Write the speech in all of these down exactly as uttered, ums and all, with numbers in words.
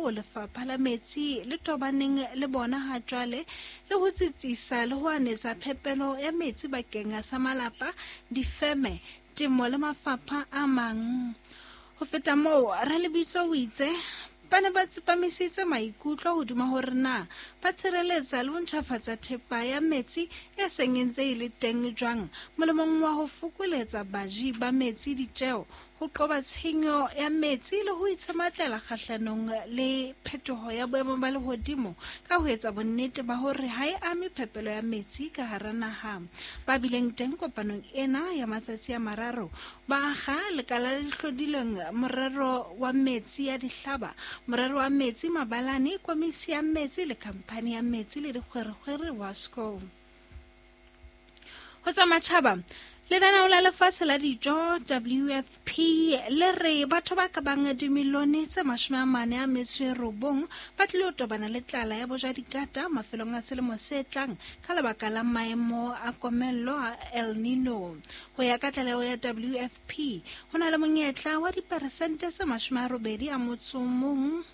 boo lefapha la metsi le tobaneng le bona ha jwale le ho tsitsisa le ho anetsa phepelo ya metsi bakeng sa malapa, difeme, temo le mafapha a mang. Ho feta moo, Ralebitso o itse ba ne ba tsepamisitse maikutlo hodima hore na ba tshireletsa le ho ntjhafatsa thepa ya metsi e seng e ntse e le teng jwang molemong wa ho fokoletsa baji ba metsi ditjeo, ho qoba tshenyo ya metsi le ho itshematlela kgahlanong le phetoho ya boemo ba lehodimo ka ho etsa bonnete ba hore ha e ame phepelo ya metsi ka hara naha. Ba bileng teng kopanong ena ya matsatsi a mararo ba akga lekala le hlodilweng morero wa metsi ya dihlaba, morero wa metsi mabalane, komisi ya metsi le khamphani ya metsi le dikgwerekgwere WASCO. Ho tsa matjhaba, Lenaneo la Lefatshe la Dijo W F P le re batho ba ka bang dimilione tse mashome a mane a metso e robong ba tlilo tobana le tlala ya bojadikata mafelong a selemo se tlang ka lebaka la maemo a komello a El Nino. Ho ya ka tlaleho ya W F P, ho na le monyetla wa diperesente tse mashome a robedi a motso o mong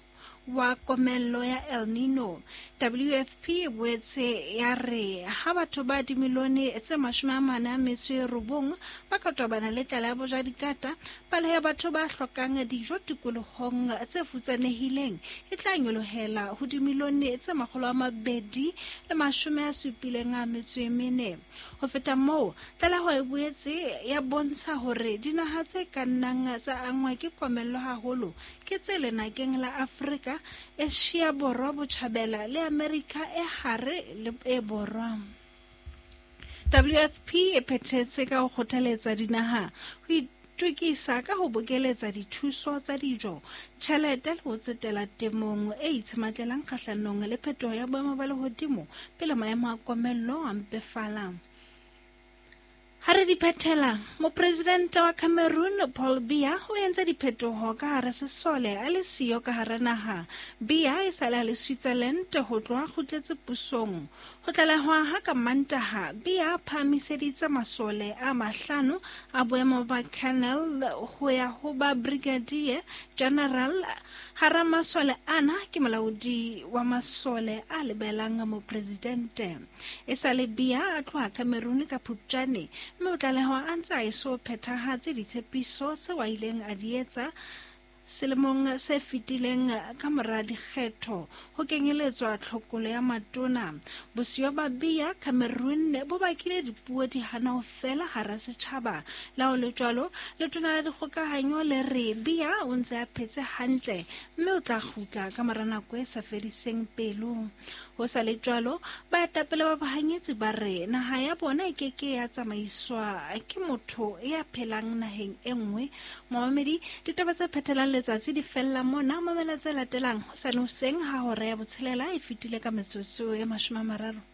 wa komello ya El Nino. W F P e boetse ya re ha batho ba dimilione tse mashome a mane a metso e robong ba ka tobana le tlala ya bojadikata, palo ya batho ba hlokang dijo tikolohong tse futsanehileng e tla nyolohela ho dimilione tse makgolo a mabedi le mashome a supileng a metso e mene. Ho feta moo, tlaleho e boetse ya bontsha hore dinaha tse ka nnang tsa angwa ke komello haholo ke tse lenakeng la Afrika, Asia Borwa Botjhabela le Amerika e hare le e borwa. W F P e phethetse ka ho kgothaletsa dinaha ho itokisa ka ho bokeletsa dithuso tsa dijo, tjhelete le ho tsetela temong e itshematlelang kgahlanong le phetoho ya boemo ba lehodimo pele maemo a komello a mpefala. Ha re di phethela, mopresidente wa Cameroon Paul Biya o entse diphetoho ka hara sesole a le siyo ka hara naha. Biya e sale a le Switzerland ho tloha kgutletse pusong. Ho tlalehwa ha ka Mantaha, Biya a phahamiseditse masole a mahlano a boemo ba colonel ho ya ho ba brigadier general. Hara masole ana ke molaodi wa masole a lebelang mopresidente. E sale Biya a tloha Cameroon ka Phupjane, mme o tlalehwa a ntse a eso phethahatse ditshepiso tseo a ileng a di etsa selemong se fetileng ka mora dikgetho ho kenyeletswa tlhokolo ya matona. Bosiyo ba Biya Cameroon bo bakile dipuo di hana ho fela hara setjhaba. Le ha ho le jwalo, letona la dikgokahanyo le re Biya o ntse a phetse hantle mme o tla kgutla ka mora nako e sa fediseng pelo. Ho sa le jwalo, baetapele ba bahanyetsi ba re naha ya bona e keke ya tsamaiswa ke motho ya phelang naheng e nngwe. Momamedi, ditaba tse phethelang letsatsi di fella mona. Mamela tse latelang hosane hoseng ha hora ya botshelela e fetile ka metsotso e mashome a mararo.